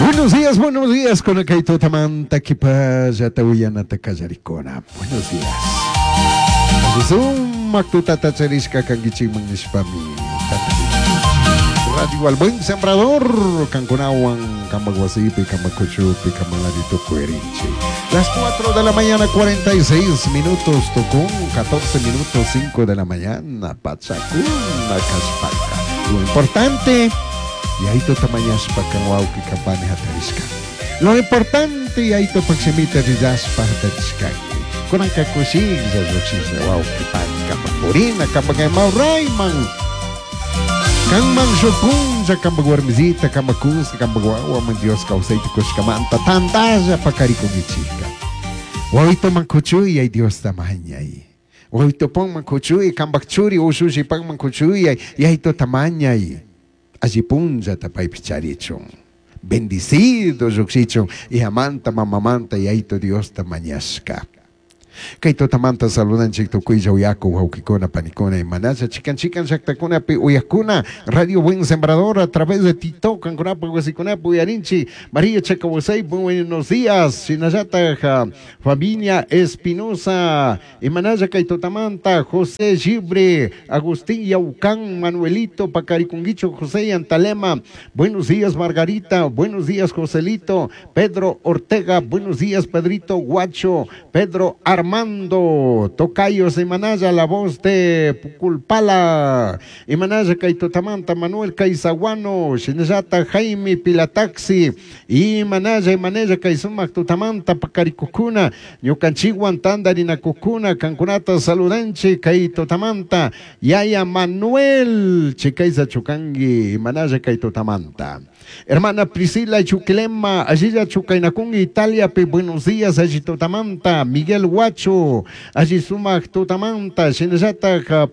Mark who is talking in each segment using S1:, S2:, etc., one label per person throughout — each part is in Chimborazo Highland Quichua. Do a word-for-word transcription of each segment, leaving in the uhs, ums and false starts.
S1: Buenos días, buenos días, con el tutamanta kipallata uyanata kallarikuna. Buenos días. Sumak tutata charishka kankichikman nishpami. Radio al Buen Sembrador, kankunawan, kambakwasipi, kambakuchupi, kambalaritukuerinchi. Las cuatro de la mañana, cuarenta y seis minutos, tocón, catorce minutos, cinco de la mañana, Pachacuna, Kashpaka. Lo importante, y ahí totamañaspa kanwauki kapani hatarishka. Lo importante, y ahí topaximita rillaspa hatarishkanki. Kunanka kushilla llukshisha wauki pani kampapurina, kampakamau rayman. Kanman shupunlla, kampak warmisita, kampak kuska, kampak wawaman Dios kawsayta kushkamanta, tantalla pakarikukichika. Wawito mankuchuy, ay Dios tamañay. Wawito pon mankuchuy, kampak churi, ushushi pan mankuchuy, ay ayto tamañay. Allí punlla tapaypi charichun. Bendicido llukshichun, y amanta mamamanta, y ayto Dios tamañashka. Kay tutamanta saludanchik tukuylla uyaku wawkikuna panikuna imanacha chikan chikan llaqtakunapi uyakuna Radio Buen Sembrador a través de TikTok kankunapa wasikunapi uyarinchi María Chacawasay, buenos días shinallata familia Espinosa imanacha kay tutamanta José Gibre Agustín Yaucán Manuelito Pacarikunguicho José Antalema, buenos días Margarita, buenos días Joselito Pedro Ortega, buenos días Pedrito Guacho Pedro Armando Armando, Tocayos de Manaya, la voz de Puculpala, Imanaya Kaitotamanta, Manuel Caizaguano, Shinayata, Jaime Pilataxi, Imanaya, Imanaya Kaizumac Tutamanta, Pacaricocuna, Ñucanchiguan Tandarina Cucuna, Cancunata Saludanche, Kaitotamanta, Yaya Manuel, Chicaiza Chucangui, Imanaya Kaitotamanta. Hermana Priscila Chuquilema, allí Chucainacún, Italia, pe, buenos días, allí Totamanta, Miguel Huacho, allí Sumac Totamanta, Shinayata,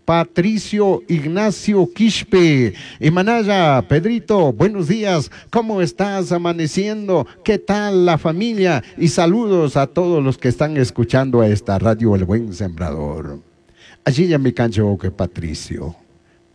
S1: Patricio Ignacio Quispe, Imanaya, Pedrito, buenos días, ¿cómo estás amaneciendo? ¿Qué tal la familia? Y saludos a todos los que están escuchando a esta radio El Buen Sembrador. Allí ya me cancho que Patricio.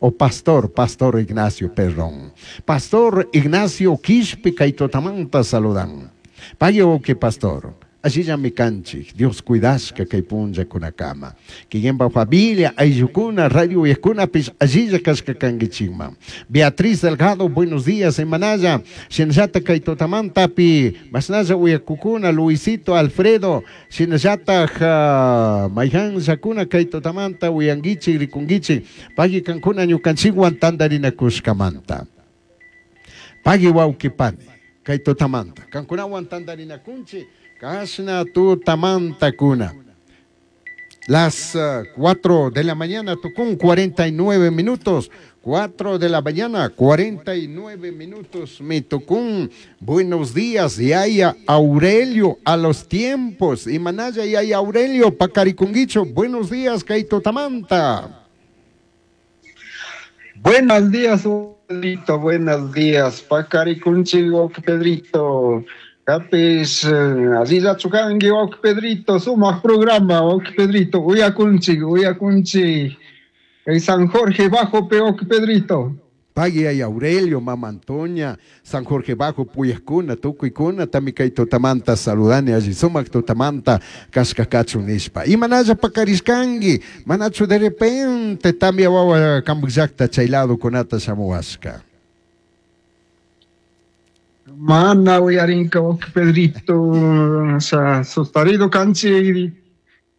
S1: O pastor, pastor Ignacio Perrón. Pastor Ignacio Quispe Kaitotamanta saludan. Payo que pastor. Allí ya me canchi, Dios cuidasca que punja con la cama. Que yemba familia, ayukuna, radio y escuna, pis, allí ya casca canguichima. Beatriz Delgado, buenos días, en Manaya, Shinjata Kaitotamanta, pi, Masnaya Uyacucuna, Luisito Alfredo, Shinjata Mayhan Yakuna Kaitotamanta, Uyanguichi, Rikunguichi, Pagui Cancuna, Ñucanchiguan, Tandarina Cuscamanta. Pagui Wauquipani, Kaitotamanta, Cancunahuan Tandarina Kunchi. Kasna tu tamanta kuna. Las uh, cuatro de la mañana, Tucún, cuarenta y nueve minutos. cuatro de la mañana, cuarenta y nueve minutos, mi Tucún. Buenos días, Yaya Aurelio, a los tiempos. Y Manaya, Yaya Aurelio, Pacaricunguicho. Buenos días, Kaito Tamanta.
S2: Buenos días, Pedrito. Buenos días, Pacaricunchigo, Pedrito. Kapis, Aziza Chukangi, ok Pedrito, sumaq programa, ok Pedrito, uyakunchi, uyakunchi, San Jorge Bajo, pe ok Pedrito.
S1: Pagui ay Aurelio, Mama Antonia, San Jorge Bajo, Puyascuna, Tucuicuna, Tamikay Totamanta, saludani, allí sumaq Totamanta, Kashkakachu nishpa. Y manaya pakarishkangi, manachu de repente, tamia wawa kambukllakta chaylado kunata shamuwashka.
S2: Mana uyarinka ok Pedrito, o sea, sostarido kanchi,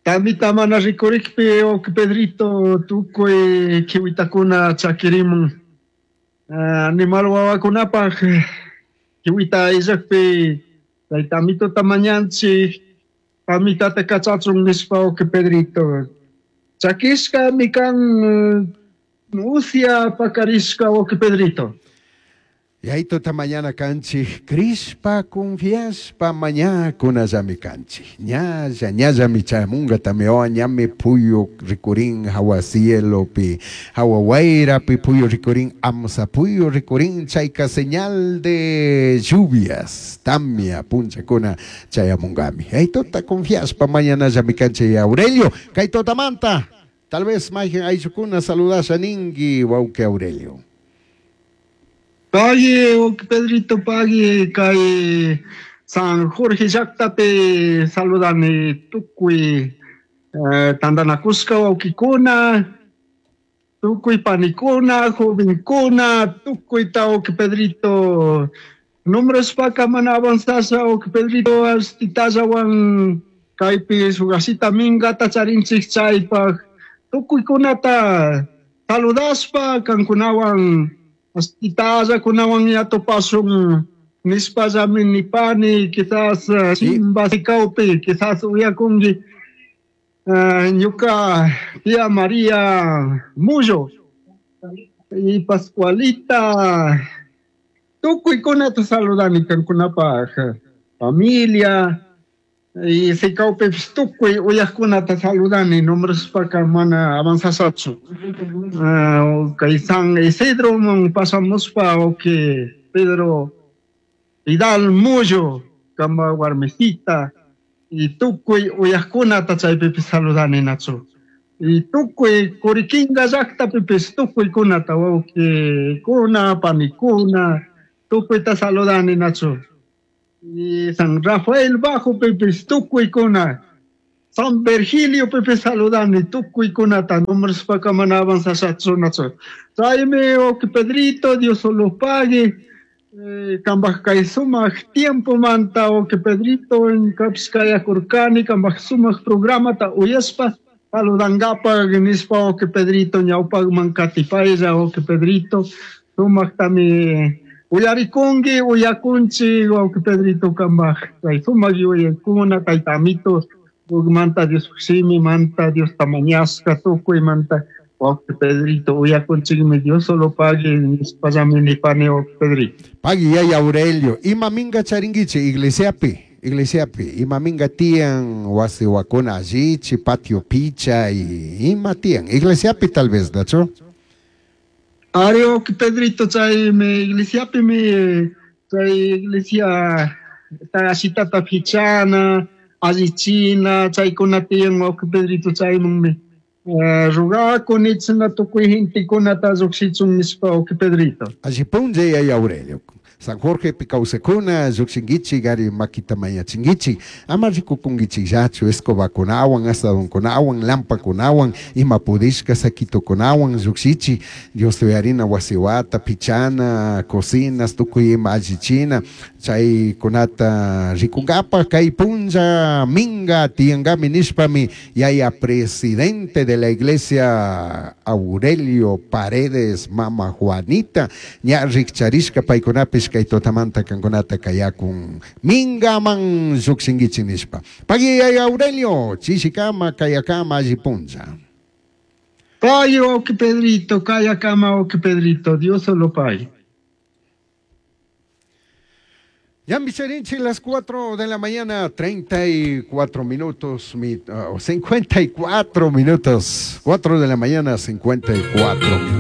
S2: tamita mana rikurikpi ok Pedrito, tukuy kiwitakuna chakirimun, animal wawakunapaj, kiwita illakpi, tamito tamañanchi, tamitata kachachun nishpa ok Pedrito. Chakishka mikan usia pakarishka ok Pedrito.
S1: Y ahí tota mañana canchi, crispa confiaspa mañana kunallami canchi. Ñalla, ñalla mi chamunga tameo, ñame puyo ricurín, hawa cielo pi, hawa guaira pi puyo ricurín, amsa puyo ricurín, chaica señal de lluvias, tamia puncha kuna chayamungami. Ahí tota confiaspa mañana ya mi canchi y Aurelio, kai tota manta. Tal vez majen ayukuna saludasha ningui, wauke Aurelio.
S2: Pagui, Pedrito, pagui, kay San Jorge llaqtapi saludani tukuy eh, tantanakusqa wawqikuna, tukuy panikuna, jovenkuna, tukuyta wawqi Pedrito. Nombrashpaka mana avanzasha wawqi Pedrito astitallawan kaypi shugasita minkata charinchik chaypaq tukuykunata saludashpa kankunawan astitallakunawan yatupasun nispallami nipani quizás Simba sikawpi quizás uyakunki uh, ñuka tía María Mullo y Pascualita tukuykunata saludani kankunapaq familia y sikawpipis tukuy uyaqkunata saludani nombrashpaka mana avanzashachu uh, kay San Isidro man pasamuspa wawqi Pedro Vidal Mullo kama warmisita y tukuy uyaqkunata chaypipis saludani nachu y tukuy Curiquinga llaqtapipis tukuykunata wawqikuna panikuna tukuyta saludani nachu y San Rafael Bajo pipis tukuykuna San Virgilio pipis saludani tukuykunata nombrashpaka mana avanzashachu nachu chaymi wawqi Pedrito Dios lo pague eh, kambaj kay sumaq tiempo manta wawqi Pedrito ñukapish kayakurkani kambaj sumaq programata uyashpa saludankapaq nispa wawqi Pedrito ñawpaqman katipaylla wawqi Pedrito sumaqtami uyarikunki uyakunchik wawqi Pedrito kambaj kay sumaq yuyaykuna tayta amito manta Dios simimanta Diosta mañashka tukuymanta wawqi Pedrito uyakunchikmi Dios solo pague nispallami nipani wawqi Pedrito.
S1: Pagui yaya Aurelio, ima minga charinguichi iglesiapi, iglesiapi, ima minga tiyan wasi wakuna allichi, patio picha y ima tiyan, iglesiapi tal vez, ¿nacho?
S2: Ari wawqi Pedrito chaymi iglesiapi mi chay iglesia ashitata pichana, allichina, chaykuna tiyan wawqi Pedrito chaymanmi Uh, rugakuni china tukuy gentekunata lluqshichun nishpa wawqi Pedrito.
S1: Allipunlla yaya Aurelio. San Jorge pikawsakuna lluqshinkichik ari makita mañachinkichik ama rikukunkichikllachu escobakunawan asadonkunawan lampakunawan ima pudishka saquitokunawan lluqshichik Dios uyarina wasiwata pichana cocinas tukuy ima allichina chaykunata rikunkapaq kay punlla minga tiyankami nishpami yaya presidente de la iglesia Aurelio Paredes mama Juanita ña rikcharishka paykunapish kay tutamanta kankunata kayakun mingaman lluqshinkichik nishpa. Pagui yaya Aurelio chishikama kayakama allipunlla.
S2: Pagui wawqi Pedrito kayakama wawqi Pedrito Dios solo pague.
S1: Ya Micherinchi, las cuatro de la mañana, treinta y cuatro minutos, mi, oh, cincuenta y cuatro minutos, cuatro de la mañana, cincuenta y cuatro minutos.